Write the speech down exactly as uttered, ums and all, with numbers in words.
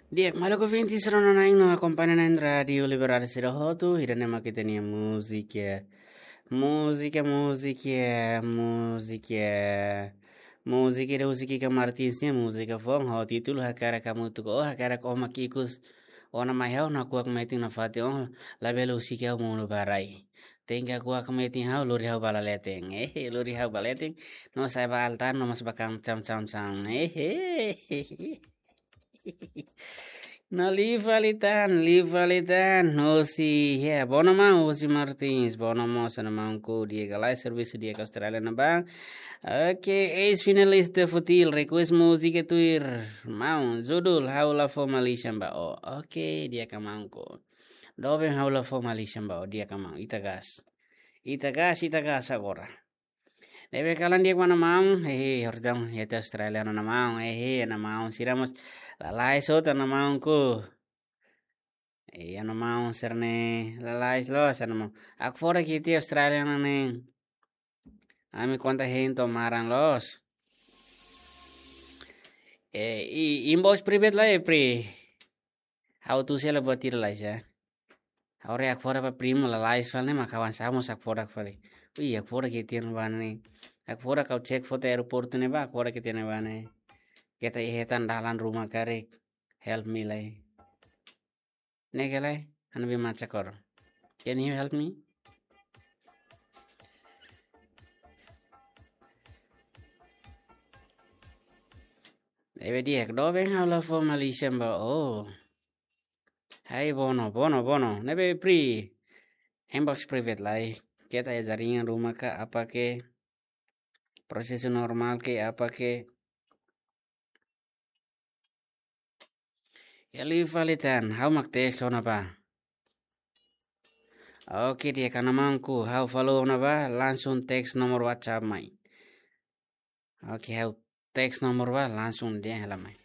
Di'ak, maluk ouvintes rona-na'in no akompaña na'in Rádiu Liberdade sira hotu, ida-ne'e mak ita-nia múzika. Múzika, múzika, múzika. Múzika ida husik Kika Martins nia múzika foun, ho títulu Hakarak Hamutuk, ó hakarak ó mak ikus ona mai ha'u, nakuak metin nafatin ó, labele husik ha'u monu ba rai. Tenke hakuak metin ha'u, lori ha'u ba leten. Ehe, lori ha'u ba leten. No sa'e ba altar, no mós ba kaun cam cam cam. Ehe. No liu fali tan, liu fali tan. Hosi, ya, bono maun, Hosi Martins, bono mós, hanesan maun, ko di'ak ka lae, servisu di'ak ka Austrália ne'ebá. Oke, eis-finalista Futil, request múzika tuir. Maun, judul, Ha'u La Fó Malisan Ba Ó. Oke, di'ak ka maun ko. Doben, Ha'u La Fó Malisan Ba Ó, di'ak ka maun, ita gas. Ita gas, ita gas agora. Ne'ebé kalan di'ak ba hanesan maun, hehe, hortang, ya te Australia hanesan maun, hehe, hanesan maun, sira mós lalais hotu hanesan maun ko. Eh, hanesan maun sira-ne'e, lalais loos, hanesan maun. Hakfodak iha Australia ne'e. Ami konta hein to'o maran loos. Eh, i, inbox private lai, Pri. Ha'u tuir sela buat ida lai sa. Ha'u haree hakfodak ba primo lalais fali ne'e, mak kawan sa mós hakfodak fali. Ui, hakfodak iha tiha ne'ebá ne'e. Hakfodak ha'u cek foto aeroportu ne'ebá, hakfodak iha tiha ne'ebá ne'e. Keta iha hetan dalan ruma karik. Help me lai. Ne'e ka lae, anu be maca koro. Can you help me? Ne'ebé di'ak, doben, Ha'u La Fó Malisan Ba Ó. Hai, bono, bono, bono. Ne'ebé Pri. Inbox private lai. Keta iha jaringan ruma ka, apa ke. Prosesu normál ke, apa ke. Ya liu fali tan, ha'u mak teks ona ba. Oke, di'ak ka hanesan maun ko, ha'u follow ona ba, langsung teks nomor WhatsApp mai. Oke, ha'u teks nomor ba, langsung dehan hela mai.